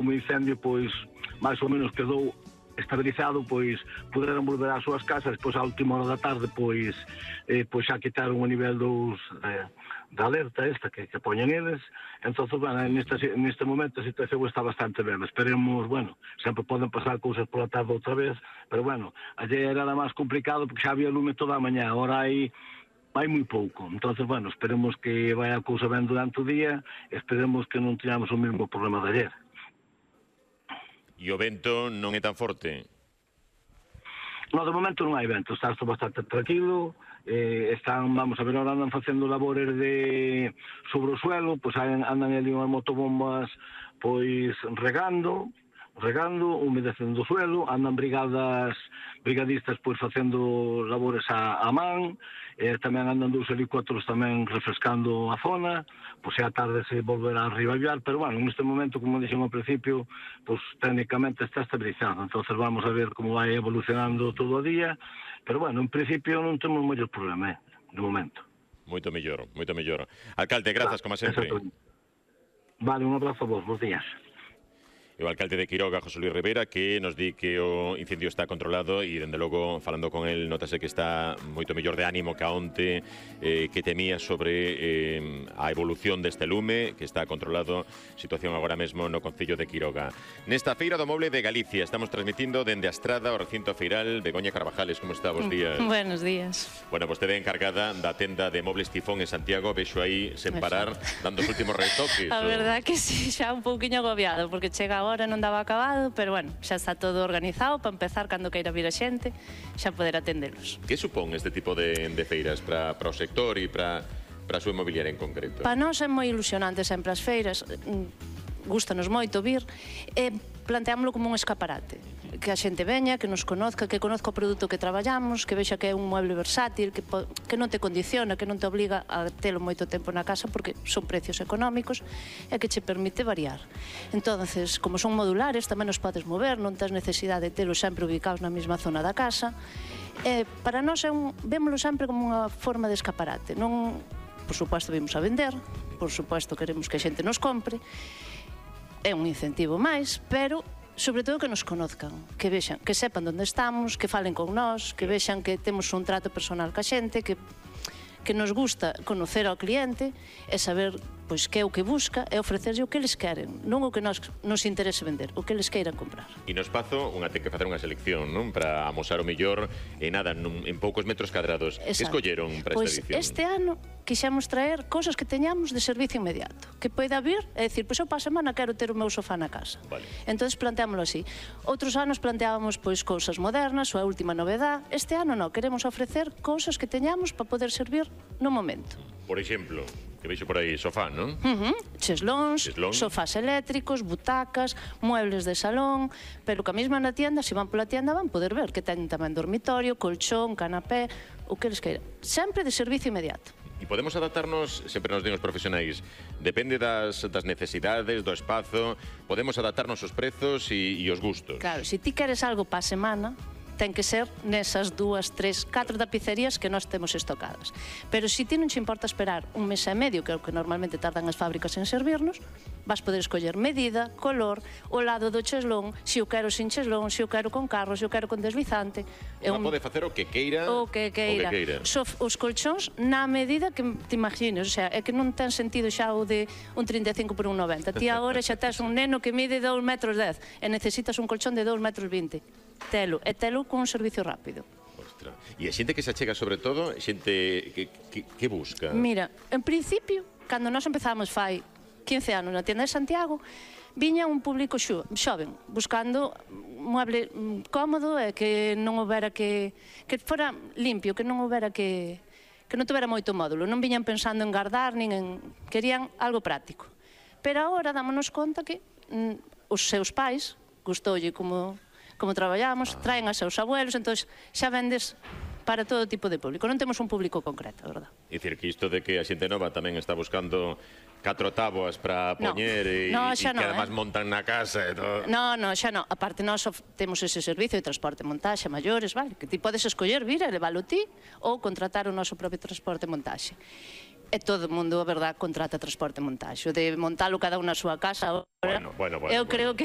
como o incendio, pois, máis ou menos quedou estabilizado, pois poderan volver ás súas casas. Pois á última hora da tarde pois xa quitaron o nivel 2 da alerta esta que poñen eles. Entonces, bueno, neste momento a situación está bastante ben. Esperemos, bueno, sempre poden pasar cousas pola tarde outra vez, pero bueno, ayer era máis complicado porque xa había lume toda a mañá, ahora hai moi pouco. Entonces, bueno, esperemos que vai a cousa ben durante o día, esperemos que non teñamos o mesmo problema de ayer. E o vento non é tan forte? No, de momento non hai vento, está bastante tranquilo. Vamos a ver, ahora andan facendo labores sobre o suelo, pois andan ali unhas motobombas pois regando, humedecendo o suelo, andan brigadistas pois facendo labores a man, tamén andan 2 helicópteros tamén refrescando a zona, pois a tarde se volverá a reavivar, pero bueno, neste momento, como dixen ao principio, pois técnicamente está estabilizado, entonces vamos a ver como vai evolucionando todo o día, pero bueno, en principio non temos moitos problemas, de momento. Moito mellor, moito mellor. Alcalde, grazas, como sempre. Vale, un abrazo a vos, bons días. O alcalde de Quiroga, José Luis Rivera, que nos di que o incendio está controlado e, dende logo, falando con el, notase que está moito mellor de ánimo que onte, que temía sobre a evolución deste lume, que está controlado, situación agora mesmo no Concello de Quiroga. Nesta Feira do Moble de Galicia, estamos transmitindo dende a Estrada, o recinto feiral. Begoña Carvajales, como está? Bos días. Buenos días. Bueno, vostede é encargada da tenda de Mobles Tifón en Santiago, vexo aí sen parar, dando os últimos retoques. A verdad que sí, xa un pouquiño agobiado, porque chega agora non daba acabado, pero bueno, xa está todo organizado para empezar cando queira vir a xente, xa poder atendelos. Que supón este tipo de feiras para o sector e para a súa inmobiliaria en concreto? Para nós é moi ilusionante sempre as feiras, gústanos moito vir, e planteámoslo como un escaparate, que a xente veña, que nos conozca, que conozca o produto que traballamos, que vexa que é un mueble versátil, que non te condiciona, que non te obliga a telo moito tempo na casa, porque son precios económicos e que che permite variar. Entonces, como son modulares, tamén os podes mover, non tens necesidade de telos sempre ubicados na mesma zona da casa. Para nós vémoslo sempre como unha forma de escaparate. Non, por suposto, vimos a vender, por suposto, queremos que a xente nos compre, é un incentivo máis, pero sobre todo que nos conozcan, que vexan, que sepan onde estamos, que falen con nós, que vexan que temos un trato personal ca xente, que nos gusta conocer ao cliente e saber pois que é o que busca e ofrecerlle o que eles queren, non o que nos interese vender, o que eles queiran comprar. E no espazo unha ten que facer unha selección, non? Para amosar o mellor en poucos metros cadrados. Que escolleron para esta edición? Pois este ano quixemos traer cousas que teñamos de servicio inmediato, que poida vir e dicir, pois eu para a semana quero ter o meu sofá na casa. Entón planteámoslo así. Outros anos planteábamos pois cousas modernas ou a última novedad. Este ano non, queremos ofrecer cousas que teñamos para poder servir no momento. Por exemplo, que veixo por aí, sofá, non? Cheslóns, sofás eléctricos, butacas, muebles de salón, pero que a mesma na tienda, se van pola tienda, van poder ver que teñen tamén dormitorio, colchón, canapé, o que eles queiran. Sempre de servicio inmediato. E podemos adaptarnos, sempre nos din os profesionais, depende das necesidades, do espazo, podemos adaptarnos os prezos e os gustos. Claro, se ti queres algo para a semana, ten que ser nesas 2, 3, 4 tapicerías que nós temos estocadas. Pero se ti non te importa esperar un mes e medio, que é o que normalmente tardan as fábricas en servirnos, vas poder escoller medida, color, o lado do cheslón, se o quero sin cheslón, se o quero con carro, se o quero con deslizante. Pode facer o que queira. O que queira. Os colchóns na medida que te imagines, o sea, é que non ten sentido xa o de un 35 por un 90. Ti agora xa tes un neno que mide 2,10 metros e necesitas un colchón de 2,20 metros. Telo con un servicio rápido. Ostras. E a xente que se achega sobre todo, xente que busca? Mira, en principio, cando nós empezamos fai 15 anos na tienda de Santiago, viña un público xoven, buscando un mueble cómodo e que non houbera que fora limpio, que non houbera que non tuvera moito módulo, non viñan pensando en guardar, nin en... querían algo práctico. Pero agora dámonos conta que os seus pais, gustoulle como traballamos, traen a seus abuelos, entón xa vendes para todo tipo de público. Non temos un público concreto, verdad? É dicir, que isto de que a xente nova tamén está buscando 4 táboas para poñer e que además montan na casa e todo. Non, xa non. Aparte, nós temos ese servicio de transporte e montaxe a maiores, vale? Que ti podes escoller vir e leválo ti ou contratar o noso propio transporte e montaxe. E todo o mundo, a verdad, contrata transporte e montaxe. O de montalo cada unha na súa casa, eu creo que